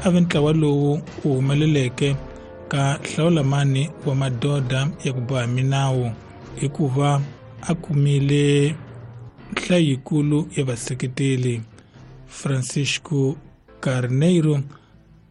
A ve ntlawa lowu wu humeleleke ka hlawulamani wa madoda ya ku boha minawu hikuva a kumile nhlayo yikulu ya vaseketeli. Francisco Carneiro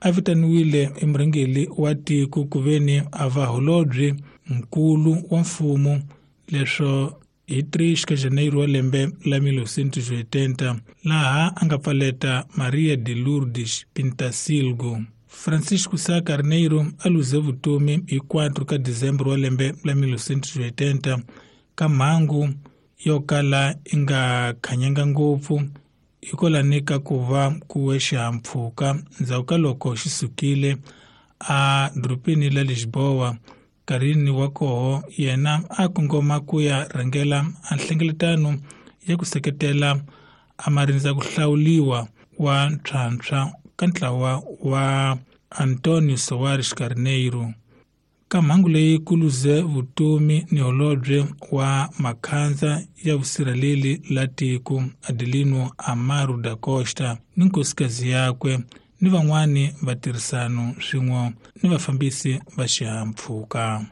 a vitaniwile i murhangeri wa tiko kuveni a va holobye nkulu wa mfumo leswo hi 3 ka Janeiro wa lembe la 1980 laha a nga pfaleta Maria de Lourdes Pintasilgo. Francisco Sá Carneiro a luze vutomi hi 4 ka Dezembro wa lembe la 1980 ka mhangu yo kala yi nga khanyanga ngopfu hikwalani ka ku va ku we xihahampfhuka ndzhaku ka loko xi sukile a dorobeni la Lisboa. Nkarhini wa koho yena a kongoma ku ya rhangela a nhlengeletano ya ku seketela a marindza ku hlawuliwa wa ntshwantshwa ka ntlawa wa Antonio Soares Carneiro. Ka mhangu leyi ku luze vutomi ni holobye wa makhandza ya vusirheleli la tiko Adelino Amaro da Costa ni nkosikazi yakwe ni van'wani va tirhisano swin'we ni vafambisi va xihahampfhuka.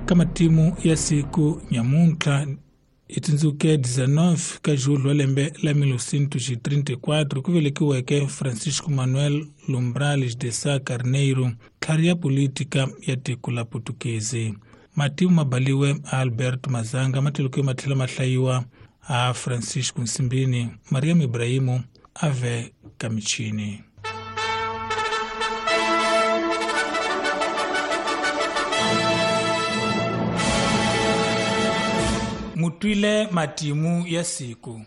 Ka matimu ya siku nyamuntlha hi tsundzuke 19 ka julho wa lembe la 1934 ku velekiweke Francisco Manuel Lumbrales de Sá Carneiro, tlhari ya politika ya tiko la Putukezi. Matimu ma baliwe a Alberto Mazanga, matilukiwe ma tlhela ma hlayiwa a Francisco Nsimbini. Mariam Ibrahimu a ve ka michini. Mutwile matimu ya siku.